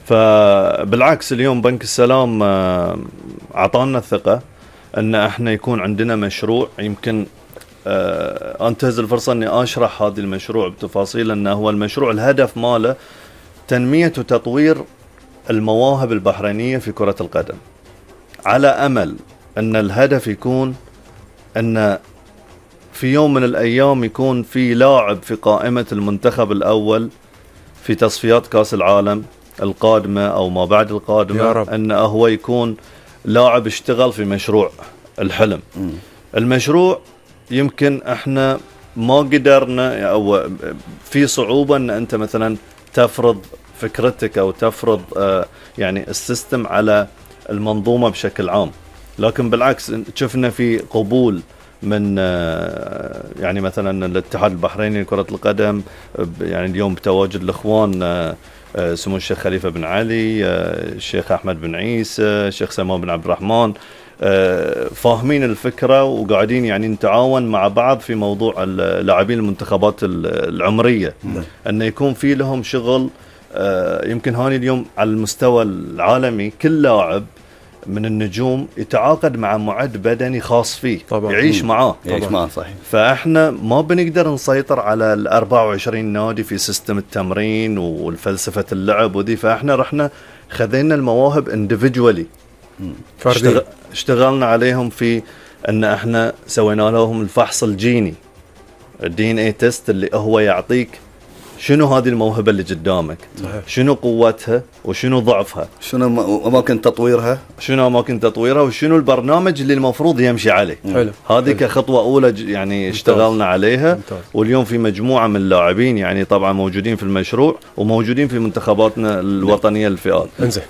فبالعكس اليوم بنك السلام أعطانا الثقة أن احنا يكون عندنا مشروع. يمكن أنتهز الفرصة أني أشرح هذا المشروع بتفاصيل. أنه هو المشروع الهدف ماله تنمية وتطوير المواهب البحرينية في كرة القدم، على أمل أن الهدف يكون أن في يوم من الأيام يكون في لاعب في قائمة المنتخب الأول في تصفيات كأس العالم القادمة أو ما بعد القادمة، أنه هو يكون لاعب اشتغل في مشروع الحلم. المشروع يمكن احنا ما قدرنا أو في صعوبة أن أنت مثلا تفرض فكرتك أو تفرض يعني السيستم على المنظومة بشكل عام، لكن بالعكس شفنا في قبول من يعني مثلا الاتحاد البحريني لكرة القدم، يعني اليوم بتواجد الإخوان سمو الشيخ خليفة بن علي، الشيخ أحمد بن عيسى، الشيخ سلمان بن عبد الرحمن، فاهمين الفكرة وقاعدين يعني نتعاون مع بعض في موضوع اللاعبين المنتخبات العمرية، أن يكون في لهم شغل. يمكن هاني اليوم على المستوى العالمي كل لاعب من النجوم يتعاقد مع معد بدني خاص فيه طبعا. يعيش معاه صحيح. فاحنا ما بنقدر نسيطر على ال 24 نادي في سيستم التمرين والفلسفة اللعب ودي، فاحنا رحنا خذينا المواهب individually اشتغلنا عليهم في ان احنا سوينا لهم الفحص الجيني DNA تيست اللي هو يعطيك شنو هذه الموهبة اللي قدامك صحيح. شنو قوتها وشنو ضعفها، شنو أماكن تطويرها وشنو البرنامج اللي المفروض يمشي عليه. هذه كخطوة أولى يعني اشتغلنا عليها. واليوم في مجموعة من اللاعبين يعني طبعا موجودين في المشروع وموجودين في منتخباتنا الوطنية للفئات. انزين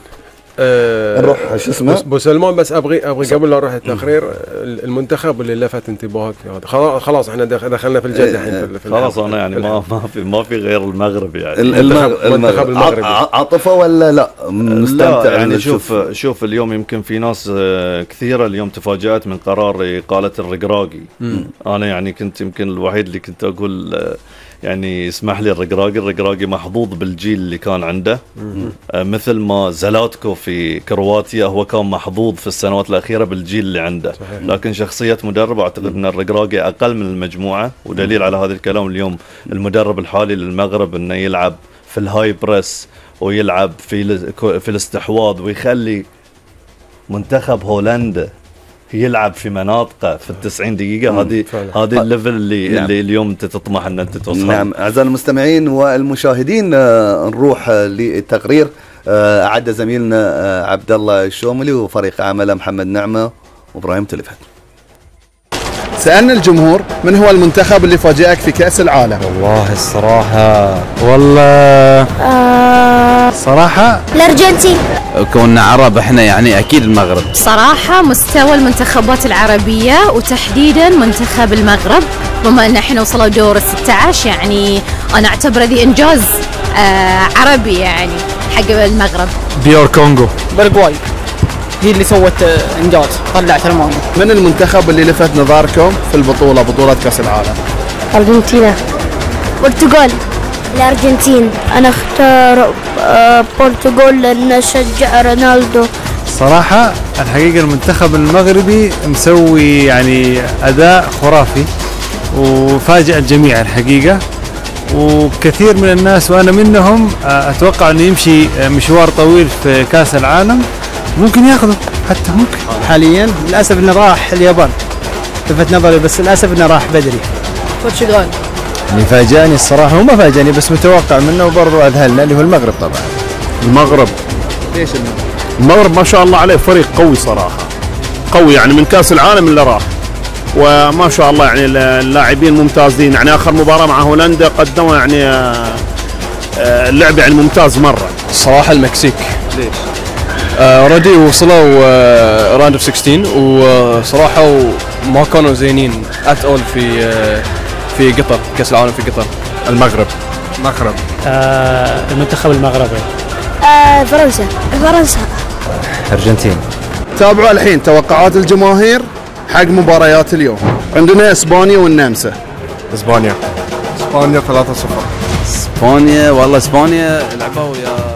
نروح شو اسمه بو سلمان، بس ابغي قبل لا نروح التقرير المنتخب اللي لفت انتباهك في هذا. خلاص احنا دخلنا في الجد الحين خلاص انا يعني ما في غير المغرب يعني المنتخب المغربي عاطفه ولا لا مستمتع يعني شوف اليوم يمكن في ناس كثيره اليوم تفاجأت من قرار إقالة الرقراقي. انا يعني كنت يمكن الوحيد اللي كنت اقول يعني اسمح لي الرقراقي محظوظ بالجيل اللي كان عنده، مثل ما زلاتكو في كرواتيا هو كان محظوظ في السنوات الأخيرة بالجيل اللي عنده صحيح. لكن شخصية مدرب أعتقد أن الرقراقي أقل من المجموعة، ودليل على هذا الكلام اليوم المدرب الحالي للمغرب أنه يلعب في الهاي بريس ويلعب في الاستحواذ ويخلي منتخب هولندا يلعب في مناطقه في 90 دقيقة. هذه الليفل اللي اليوم انت تطمح ان انت توصل. نعم اعزائي المستمعين والمشاهدين، نروح للتقرير اعد زميلنا عبد الله الشوملي وفريق عمله محمد نعمة وابراهيم تلفت. سألنا الجمهور من هو المنتخب اللي فاجأك في كأس العالم؟ والله الصراحة صراحة الأرجنتين. كوننا عرب احنا يعني اكيد المغرب. صراحة مستوى المنتخبات العربية وتحديدا منتخب المغرب، بما ان احنا وصلوا دور 16 يعني انا اعتبره ذي انجاز عربي يعني حق المغرب. ديار كونغو. باراغواي هي اللي سوت انجاز، طلعت المانيا. من المنتخب اللي لفت نظركم في بطولة كأس العالم؟ أرجنتينا. برتغال. الأرجنتين. أنا اختار برتغال لأن أشجع رونالدو. صراحة الحقيقة المنتخب المغربي مسوي يعني أداء خرافي وفاجأ الجميع الحقيقة، وكثير من الناس وأنا منهم أتوقع أنه يمشي مشوار طويل في كأس العالم، ممكن ياخذه حتى ممكن. حاليا للأسف أنه راح اليابان، لفت نظري بس للأسف أنه راح بدري. برتغال. اللي فاجأني الصراحة، هو ما فاجأني بس متوقع منه وبرضه أذهلنا، اللي هو المغرب طبعا. المغرب. ليش المغرب ما شاء الله عليه فريق قوي صراحة، قوي يعني من كأس العالم اللي راح، وما شاء الله يعني اللاعبين ممتازين، يعني آخر مباراة مع هولندا قدموا يعني اللعب يعني ممتاز مرة. الصراحة المكسيك. ليش؟ اوريدي وصلوا راوند اوف 16 وصراحة ما كانوا زينين ات اول في قطر، كأس العالم في قطر. المغرب. المنتخب المغربي. فرنسا. أرجنتين. تابعوا الحين توقعات الجماهير حق مباريات اليوم. عندنا اسبانيا والنمسا. اسبانيا 3-0. اسبانيا والله اسبانيا لعبوا يا